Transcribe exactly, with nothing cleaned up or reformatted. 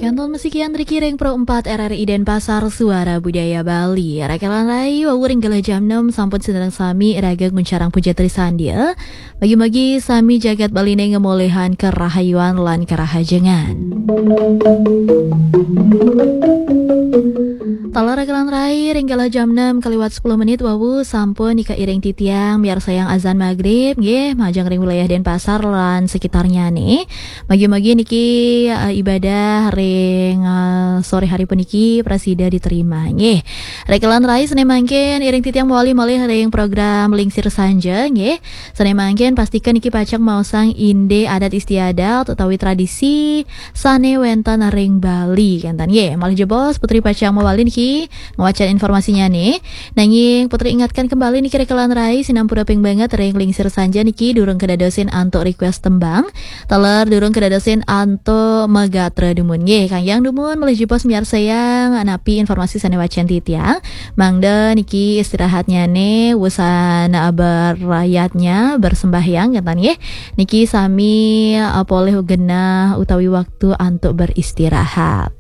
Kantun masikian riki ring Pro empat R R I Denpasar, Suara Budaya Bali. Rakelan rai, wau ring galah jam enam sampun sinareng sami iraga nguncarang puja trisandya. Mugi-mugi sami jagat Baline ngamolihang karahayuan lan karahajengan. Taler rakelan rai, ring galah jam enam kaliwat sepuluh menit wau sampun nika iring titiang miarsayang azan magrib, nggih, majeng ring wilayah Denpasar lan sekitarnyane. Mugi-mugi niki, eh, ibadah ring, eh, sore hari puniki prasida diterima, nggih. Rakelan rai, sane mangkin iring titiang mawali malih ring program Lingsir Sanja, nggih. Sane mangkin pastika niki pacang maosang indik adat istiadat utawi tradisi sane wenten ring Bali, kenten, nggih. Malih jebos Putri pacang mawali niki ngwacen informasinyane. Nanging Putri ingatkan kembali niki rakelan rai, sinampura ping banget ring Lingsir Sanja niki durung kadadosin antuk request tembang. Taler durung kadadosin antuk magatra dumun, nggih. Kayang dumun malih jebos miarsayang napi informasi sane wacen titiang. Mangda niki istirahatnyane wusan berrayatnya, bersembahyang, kenten, nggih. Niki sami, eh, polih genah utawi waktu antuk beristirahat.